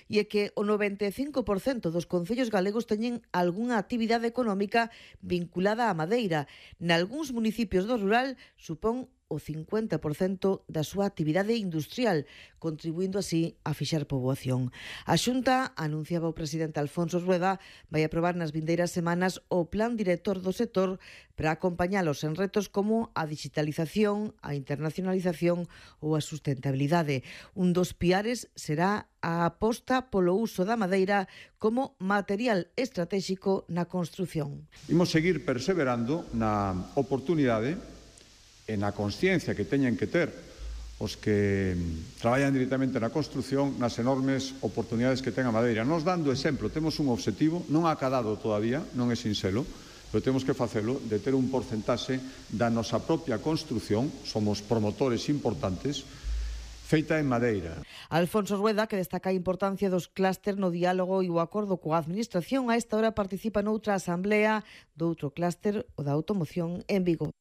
e é que o 95% dos concellos galegos teñen algunha actividade económica vinculada á madeira. Nalgúns municipios do rural supón o 50% da súa actividade industrial, contribuindo así a fixar poboación. A Xunta, anunciaba o presidente Alfonso Rueda, vai aprobar nas vindeiras semanas o plan director do sector para acompañalos en retos como a digitalización, a internacionalización ou a sustentabilidade. Un dos piares será a aposta polo uso da madeira como material estratégico na construción. Imos seguir perseverando na oportunidade e na consciencia que teñen que ter os que traballan directamente na construción nas enormes oportunidades que ten a madeira. Nos dando exemplo, temos un obxectivo, non acadado todavía, non é sinxelo, pero temos que facelo, de ter un porcentaxe da nosa propia construción, somos promotores importantes, feita en madeira. Alfonso Rueda, que destaca a importancia dos clúster no diálogo e o acordo coa administración, a esta hora participa noutra asamblea do outro clúster, o da automoción, en Vigo.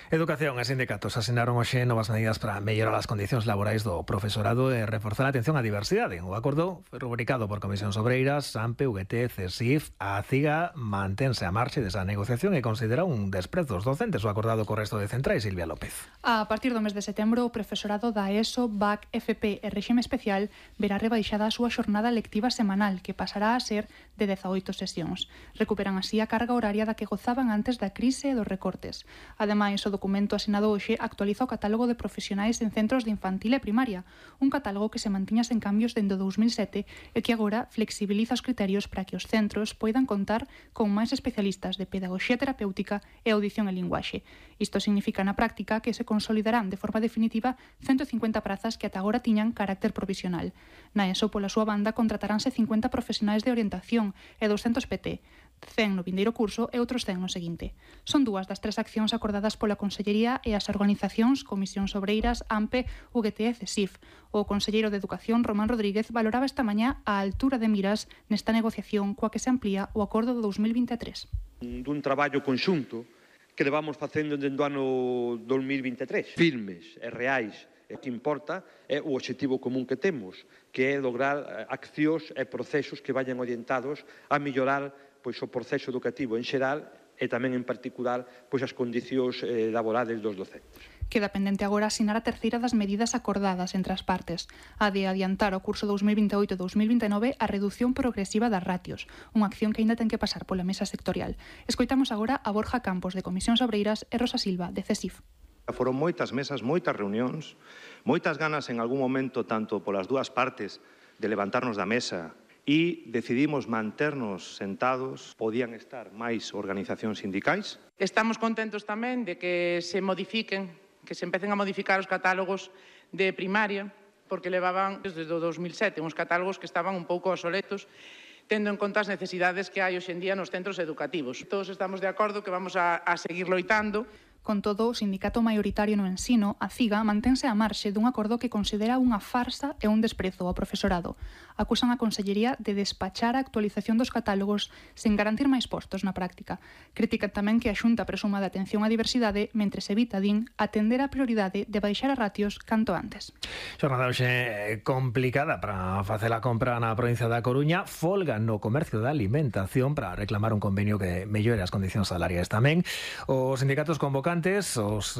Educación e sindicatos asinaron hoxe novas medidas para mellorar as condicións laborais do profesorado e reforzar a atención á diversidade. O acordo foi rubricado por Comisións Obreiras, AMPE, UGT, CESIF. A CIGA mantense a marcha desa negociación e considera un desprezo dos docentes o acordado co resto de centrais. Silvia López. A partir do mes de setembro, o profesorado da ESO, BAC, FP e Réxime Especial verá rebaixada a súa xornada lectiva semanal, que pasará a ser de 18 sesións. Recuperan así a carga horaria da que gozaban antes da crise e dos recortes. Ademais, o documento asinado hoxe actualiza o catálogo de profesionais en centros de infantil e primaria, un catálogo que se mantiña sen cambios dende 2007 e que agora flexibiliza os criterios para que os centros poidan contar con máis especialistas de pedagogía terapéutica e audición e linguaxe. Isto significa na práctica que se consolidarán de forma definitiva 150 prazas que ata agora tiñan carácter provisional. Na ESO, pola súa banda, contrataránse 50 profesionais de orientación e 200 PT, 100 no vindeiro curso e outros 100 no seguinte. Son dúas das 3 accións acordadas pola Consellería e as organizacións Comisións Obreiras, AMPE, UGT e CESIF. O conselleiro de Educación, Román Rodríguez, valoraba esta mañá a altura de miras nesta negociación coa que se amplía o acordo de 2023. Dun traballo conxunto que levamos facendo dende o ano 2023, firmes e reais. O que importa é o obxectivo común que temos, que é lograr accións e procesos que vayan orientados a mellorar o proceso educativo en xeral e tamén en particular as condicións laborais dos docentes. Queda pendente agora asinar a terceira das medidas acordadas entre as partes, a de adiantar ao curso 2028-2029 a redución progresiva das ratios, unha acción que aínda ten que pasar pola mesa sectorial. Escoitamos agora a Borja Campos, de Comisións Obreiras, e Rosa Silva, de CESIF. Foron moitas mesas, moitas reunións, moitas ganas en algún momento, tanto polas dúas partes, de levantarnos da mesa e decidimos manternos sentados. Podían estar máis organizacións sindicais. Estamos contentos tamén de que se modifiquen, que se empecen a modificar os catálogos de primaria, porque levaban desde o 2007 uns catálogos que estaban un pouco obsoletos, tendo en conta as necesidades que hai hoxe en día nos centros educativos. Todos estamos de acordo que vamos a seguir loitando. Con todo, o sindicato maioritario no ensino, a CIGA, mantense a marxe dun acordo que considera unha farsa e un desprezo ao profesorado. Acusan a Consellería de despachar a actualización dos catálogos sen garantir máis postos na práctica. Critican tamén que a Xunta presuma de atención á diversidade mentres evita, din, atender a prioridade de baixar a ratios canto antes. Xornada hoxe complicada para facer a compra na provincia da Coruña. Folga no comercio da alimentación para reclamar un convenio que mellore as condicións salariais tamén. Os sindicatos convocan os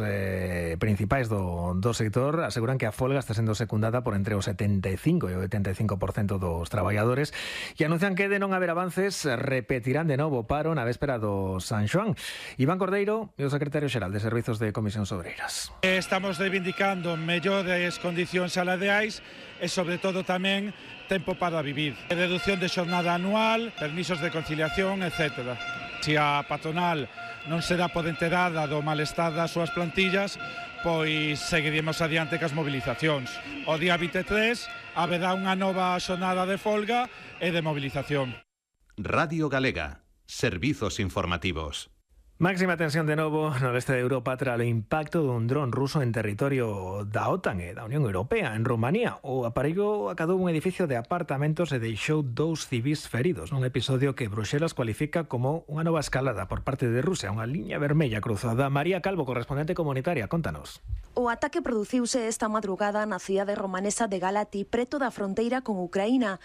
principais do sector aseguran que a folga está sendo secundada por entre o 75 e o 85% dos traballadores e anuncian que de non haber avances repetirán de novo paro na véspera do San Xoán. Iván Cordeiro é o secretario xeral de Servizos de Comisións Obreiras. Estamos reivindicando mellores condicións salariais e sobre todo tamén tempo para vivir. Reducción de xornada anual, permisos de conciliación, etc. Se a patronal non se dá por enterada do malestar das súas plantillas, pois seguiremos adiante cas mobilizacións. O día 23 haberá unha nova xornada de folga e de mobilización. Radio Galega, servizos informativos. Máxima tensión de novo no leste de Europa tras o impacto dun dron ruso en territorio da OTAN e da Unión Europea. En Rumanía, o aparello acadou un edificio de apartamentos e deixou 2 civis feridos, nun episodio que Bruxelas cualifica como unha nova escalada por parte de Rusia, unha liña vermella cruzada. María Calvo, correspondente comunitaria, contanos. O ataque produciuse esta madrugada na cidade romanesa de Galati, preto da fronteira con Ucraína.